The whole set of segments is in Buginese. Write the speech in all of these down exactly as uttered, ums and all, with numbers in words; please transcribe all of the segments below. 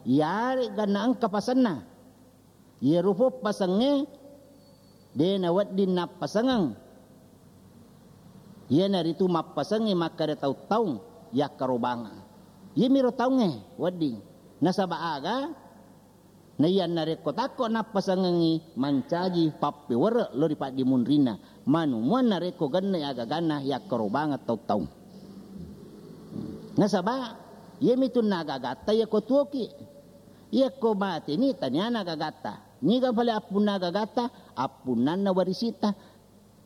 Iyare'ga naengka pasenna. Iyaro poppasengnge de' nawedding nappasengeng. Iyanaritu mappasengngi makkeda taung-taung yakkarobangeng. Iyamiro taungnge wedding. Nasaba aga? Naiya narekko takko nappasengengngi, mancaji pappewere' lao ri paddimunrinna. Manumuang narekko genne' agaganna yakkarobangeng taung-taung. Nasaba iyamitu nagagatta yakko tuoki. Yakko mateni taniana gagatta. Niga pale appunna gagatta? Appunnanna warisitta.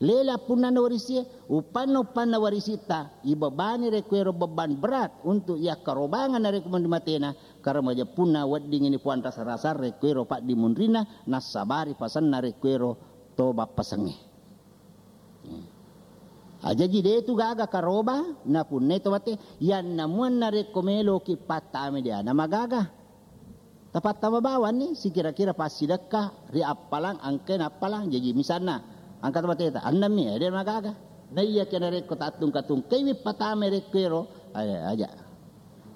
Lele appunnanna warisie, uppanna-uppanna warisitta, ibebani rekkuero beban berat untuk yakkarobangeng narekko mandi matena, karena majeppunna wedding ini puang rasa-rasa rekkuero paddimunrinna, nassabari pasenna rekkuero to bappasengnge. Ajaji de' tu gaga karoba napunnai to mate, yannamuang narekko meloki pattama diana magaga. Tapattama bawanni sikira-kira passidekka ri appalang engkai nappalang. Jaji misalna engka to mateta, ennemmi, eh, de' magaga. Naiya ke narekko tattungka-tungkaiwi patama rekkuero, eh, aja.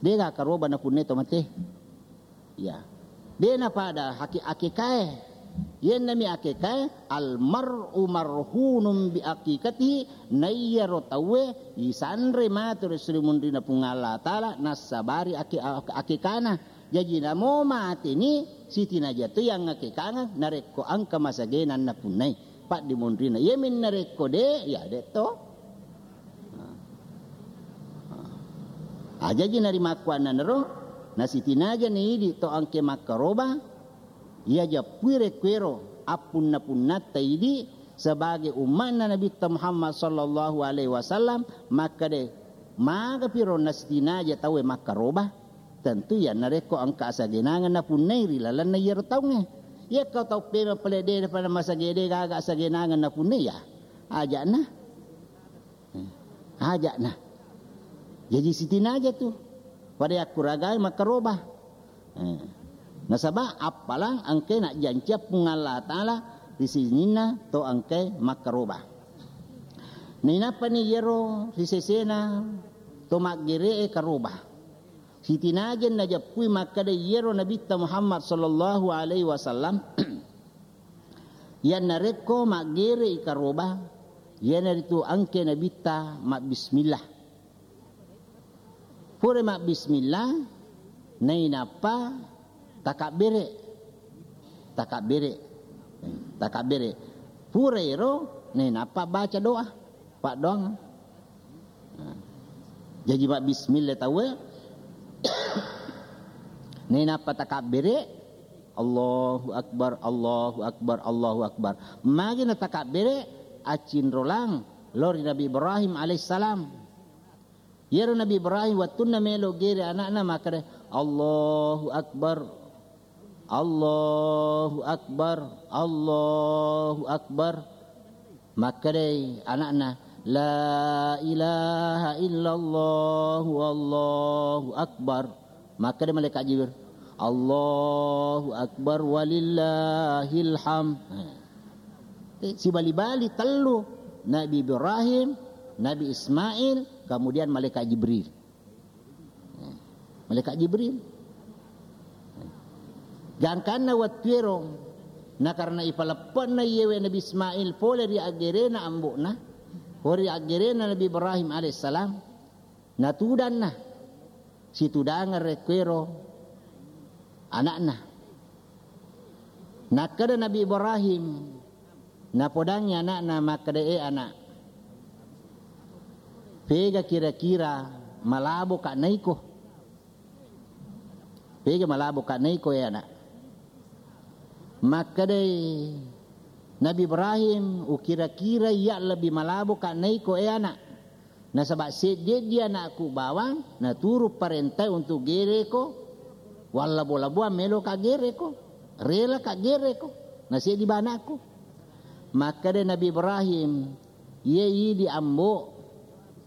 De' gaga karoba napunnai to mate. Ya. De' napada haki-, akekae. Yennami akekae, almar'u marhunun bi aqiqatihi, naiyaro tauwe isanre matu ri munrinna Puang Allah Taala nassabari ake-, akekana. Jaji namo mateni sitinaja tu yang akekangeng narekko engka masagena napunnai paddimunrinna. Iyami narekko de', ya de' to. Ajaji narimakkuannanaro, nasitinaja naidi to engke makkaroba, iya jeppui rekkuero appunna-punnatta idi sebagai umma'na Nabitta Muhammad sallallahu alaihi wasallam, makkeda, magapiro nasitinaja tauwe makkaroba? Tentu iya narekko engka asagenangeng napunnai ri lalenna iyaro taungnge. Iyakko tau pemeng pale de' pada masage de' gaga asagenangeng napunnai, ya aja'na. Aja'na. Jaji sitinaja tu. Pada yakkuragai makkaroba. Eh. Nasaba appalang engkai najjancia Puang Allah Taala ri sininna to engkai makkaroba. Nainappani iyaro ri sesena to maggere'e karoba. Sitinaja najeppui makkeda iyaro Nabitta Muhammad sallallahu alaihi wasallam, yannarekko maggere'i karoba, iyanaritu engke Nabitta mabbismillah. Pura mabbismillah, nainappa takabbere. Takabbere. Takabbere. Pura ero, nainappa baca doa. Paddoang. Nah. Jaji mabbismillah tauwe. Nainappa takabbere, Allahu Akbar, Allahu Akbar, Allahu Akbar. Magi natakabbere, accinrolang lao ri Nabi Ibrahim alaihissalam. Iyaro Nabi Ibrahim wettunna melo gere anakna makkeda, "Allahu Akbar, Allahu Akbar, Allahu Akbar." Makkedai anakna, "La ilaha illallah, Allahu Akbar." Makkeda malaikat Jibril, "Allahu Akbar walillahil hamd." Eh, sibali-bali tellu, Nabi Ibrahim, Nabi Ismail, kemudian malaikat Jibril. Eh, malaikat Jibril. Gangkanna wettuero, na karena ipaleppe'na iyewe Nabi Ismail pole ri aggerena ambo'na, pole ri aggerena Nabi Ibrahim alaihissalam, natudanna. Situdangeng rekkuero anakna. Nakkeda Nabi Ibrahim, napodangngi anakna makkeda, "E anak, pega kira-kira malaboka naiko? Pega malaboka naiko, e anak?" Makkedai Nabi Ibrahim, "Ukira-kira iya lebbi malaboka naiko, e anak." Nasaba seddi-eddi anakku bawang, naturu parentai untuk gereko, wallabo-laboang meloka gereko, relaka gereko, naseddi ba anakku. Makkeda Nabi Ibrahim, "Iye idi ambo,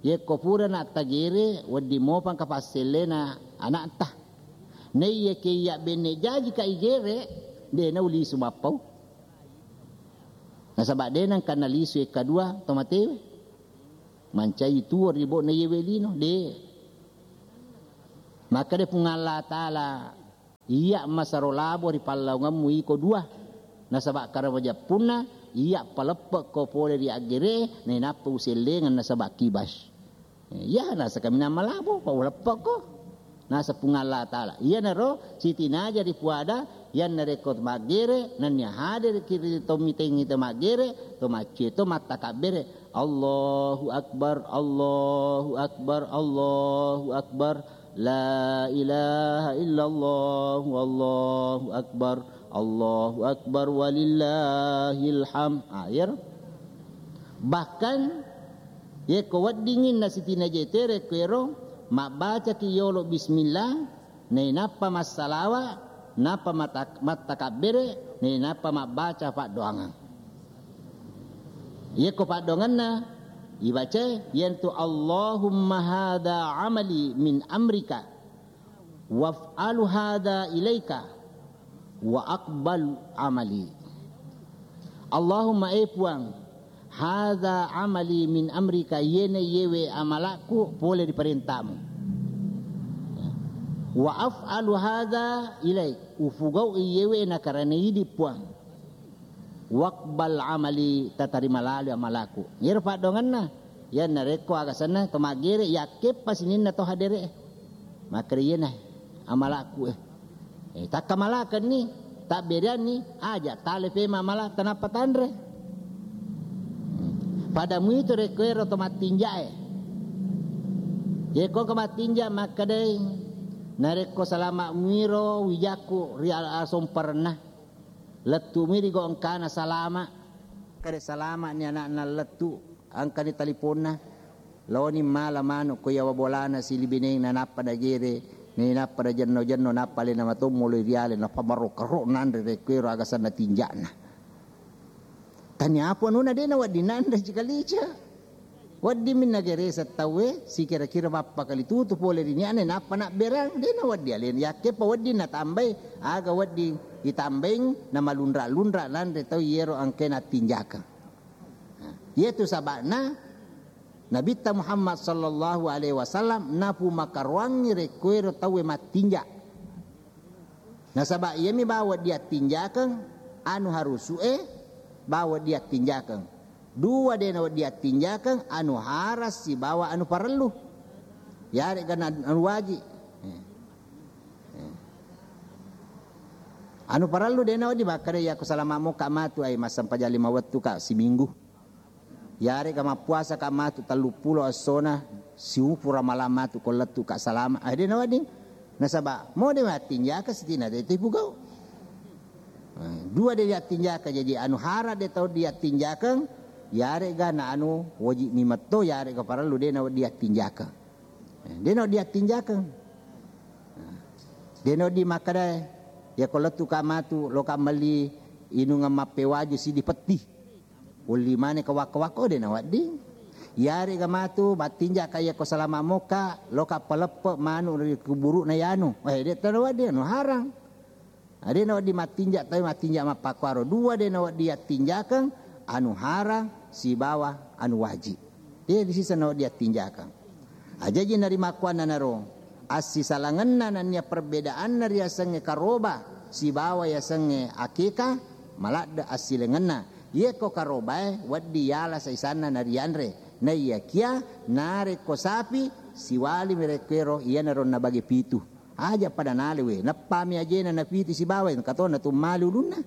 yekko pura natta gere, wedding mopangka passellena anakta. Naiya ke iya benne jajika igere, de naulisu mappau." Nasaba de nengka nalisu e kadua to matewe. Mancai tuo ri bo'na iyewe lino, de. Makkeda Puang Allah Taala, Iyya masaro labo ri pallaungemmu iko dua. Nasaba karena majeppunna, iyya paleppe'ko pole ri aggere, nainappa usellengeng nasaba kibas. Eh, iya, nasa kaminang malabo, pa uleppe'ko. Nasa Puang Allah Ta'ala. Iyanaro sitinaja ripuada, yannarekko maggere, nennia hadir kiri tomitengi to maggere, to macce to mattakabbere. Allahu Akbar, Allahu Akbar, Allahu Akbar. La ilaha illallah, Allahu Akbar, Allahu Akbar, walillahil hamd. Ah, iyaro. Bahkan, yekko weddingngi nasitinaja tere ko ero, mabbacaki yolo bismillah, nainappa massalawa, nappa mata-, mattakabbere, nainappa mabbaca paddoangeng. Yekko paddoangenna, ibacae, yentu Allahumma hadza amali min amrika, waf'alu hadza ilaika, wa aqbal amali. Allahumma, e Puang, hadza amali min amrika, yene yewe amalakku pole ri parentamu. Wa af'alu hadza ilaik, ufugau yewe nakarana idi Puang. Waqbal amali, tatarima lalo amalaku. Iyaro paddoangenna, yannarekko aga senna to maggere, yakkeppa sininna to hadere. Makkeda iyena amalaku, eh. Eh, takkamalakenni, tabbereanni, aja tale pema amala tanappa tanre. Pada muitu rekko ero to mattinjae. Yekko ke mattinja makkedai, narekko salama muiro wijakku ri al-, asomparenna. Lettu mi ri go engkana salama. Kade salama ni anakna lettu, engkani taliponna. Laoni mala manu ko yawa bolana silibineng na nappa nagere, ni nappa najenno-jenno, nappa alena matommo loi riale, nappa marokka-ro nanre rekko ero aga senna tinja'na. Tania apa nuna dena wedding nanre cika-lica. Wedding minna gereseng tauwe, sikira-kira mappakalitutu pole ri nia'na, nappa nabberang, dena wedding alena. Yakkeppa wedding natambai, aga wedding itambaing, namalunra-lunra nanre tau iyero engkae nattinjakeng. Nah, iyetu saba'na Nabitta Muhammad sallallahu alaihi wasallam napumakaroangngi rekko ero tauwe mattinja. Nasaba iyami bawa diattinjakeng anu harusu'e, bawa diattinjakeng. Dua de nawa diattinjakeng, anu harang sibawa anu parellu. Yarega na anu waji. Eh. Eh. Anu parellu de nawa di makkeda, iya ko salama mokka matu, ai massempajang lima wettu ka siminggu. Yarega mappuasa ka matu telluppulo essona, siupu ramalang matu ko lettu ka salama. Ah, de nawedding. Nasaba mo de mattinjaka sitina de tu ipugau. Eh, dua de diattinjaka, jadi anu harang de tau diattinjakeng, yarega na anu wajib mi metto, yarega parellu de nawedding diattinjakeng. Eh, de nawedding diattinjakeng. Eh, de nawedding makkeda, ya ko lettu ka matu, lo ka melli inungeng mappewaju sidi petti. Ulli maneng ka wakko-wakko, de nawedding. Yarega matu mattinja ka iya ko salama mokka, loka paleppe manu ri kuburu'na yanu. Eh, de to nawedding, anu harang. Ah, de nawedding mattinja, tapi mattinja mappakkuaro dua de nawedding attinjakeng, anu harang sibawa anu wajib. De disisa nawedding attinjakeng. Ajaji narimakkuannanaro, assisalangenna nennia perbedaanna riasengnge karoba sibawa yasengnge akeka, maladde assilengenna. Yekko karobae wedding yala saisanna narianre, naiyakia narekko sapi siwalimi rekkoero iyanaro nabage pitu. Aja pada nale we, neppami ajena napitu sibawa, engka to natummale ulunna.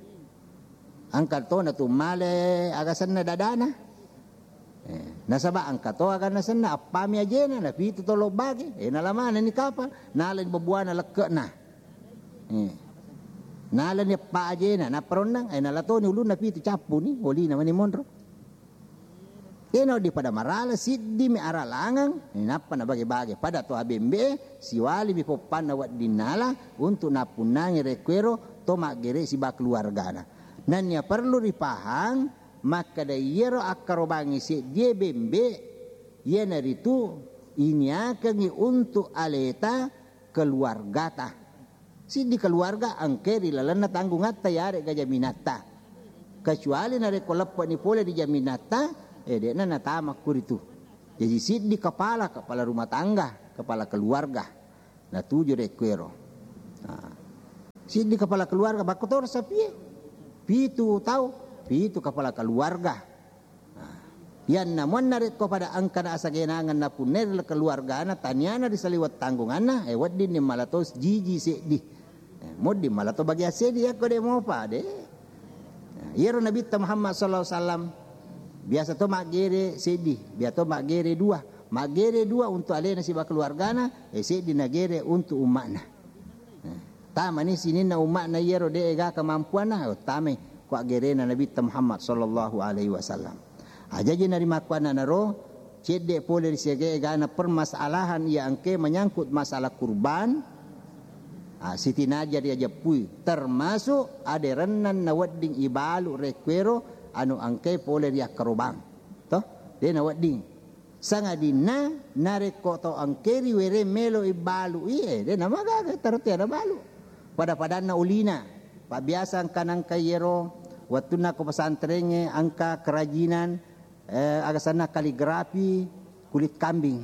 Engka to natummale agasenna dadana. Eh, nasaba engka to aganna senna, appami ajena, napitu to lobbage, eh, nala manenni kapang, nalani bebuana lekke'na. Eh, nalani eppa ajena, nappa ronnang, eh, nala toni ulunna pitu, cappuni, olina mani monro. Dena wedding pada marala, siddimi aralangeng, eh, nappa nabage-bage. Pada to abembe, siwalimi poppanna wedding nala, untuk nappunnangi rekkuero to maggere siba keluargana. Nennia perlu ripahang, makkeda iyaro akkarobangnge seddie bembe, iyanaritu iniakengngi untuk aleta keluargata. Siddi keluarga engke ri lalenna tanggungatta yarega jaminatta. Kecuali narekko leppe'ni pole ri jaminatta, eh, de'na natama kuritu. Jadi siddi kepala, kepala rumah tangga, kepala keluarga. Natuju rekkuero. Nah. Siddi kepala keluarga, makkotoro sapie. Pitu tau, pitu kepala keluarga. Nah, iyanna muanna rekko pada engkana asagenangan napunnai ri keluargana, taniana ri saliweng tanggunganna, eh, weddinni malato jiji seddi. Eh, modding malato bagian seddi yakko de mopa de. Nah, iyaro Nabitta Muhammad sallallahu alaihi wasallam biasa to maggere seddi, biasa to maggere dua. Maggere dua untuk alena siba keluargana, eh, seddi nagere untuk umma'na. Eh, tamani sininna umma'na iyaro de'e ga kemampuanna, oh, tamai ko aggerena Nabitta Muhammad sallallahu alaihi wasallam. Ajaji narimakkuannanaro, cedde pole ri siaga egana permasalahan iya engke menyangkut masalah kurban, ah, sitinaja riajeppui, termasuk aderennan nawedding ibalu rekkuero anu engke pole riakkarobang. Toh? De nawedding. Sangadinna narekko to engke riwereng melo ibalu'i, eh, de namagaga taro tiada balu. Pada-padanna ulina. Pabbiasa engka nangka iyero wettunna ko pesantrengnge engka kerajinan, eh, aga senna kaligrafi kulit kambing.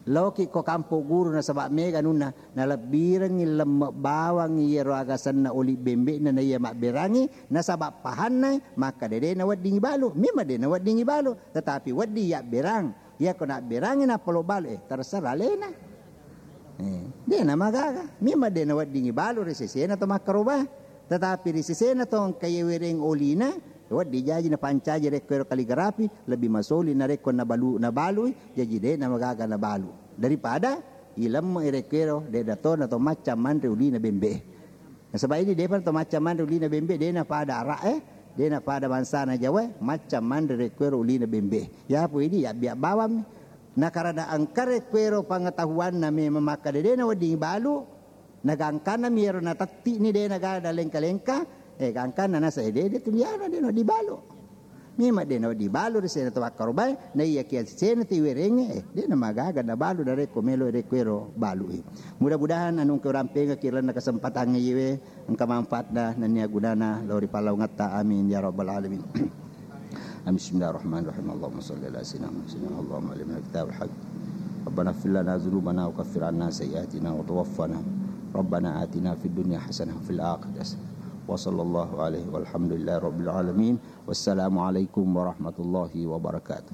Laoki ko kampo guru nasaba mega anunna, nalebbirengngi lemme bawang iyero aga senna oli bembe'na na iya mabberangi, nasaba pahanna maka dede naweddingi balu, memang de naweddingi balu, tetapi wedding yabberang. Iyako nabberangi nappa lo balu, eh, terserah alena. Eh, de namagaga. Memang de naweddingi balu ri sesena to makkaroba. Tetapi ri sesena to engka iye wereng olina, wedding jaji napancaji rekko ero kaligrafi, lebih masoli narekko nabalu, nabalui, jaji de namagaga nabalu. Daripada ilemme rekko ero de datona to macca manre ulina bembe. Nasaba idi depa to macca manre ulina bembe, de napada ara'e, de napada bangsana Jawae, macca manre rekko ero ulina bembe. Yapo idi yabbiak bawammi. Nakarana engka rekko ero pengetahuanna memang makkada de naweddingi balu, nagangkanna mi ero natettini de naga dalengka-lengka, eh, gangkanna nasa, eh, de, de tuliana de no dibalu. Memang de nawedding balu ri sena to makkarobae, na iya kia sena to iwerengnge, eh, de namagaga nabalu narekko melo rekko ero balui. Mudah-mudahan anu engka urampengaki lalenna kesempatangnge iyewe engka manfaatna nennia gunana lao ri pallaungetta. Amin ya rabbal alamin. Amin. Bismillahirrahmanirrahim. Allahumma salli ala sayyidina Muhammad. Allahumma alimna kitabal haq. Rabbana ighfir lana dzunubana wa kaffir anna sayyi'atina wa tawaffana. Rabbana atina fid dunya hasanah wa fil akhirati hasanah. Wa sallallahu alaihi walhamdulillahi rabbil alamin. Wassalamualaikum warahmatullahi wabarakatuh.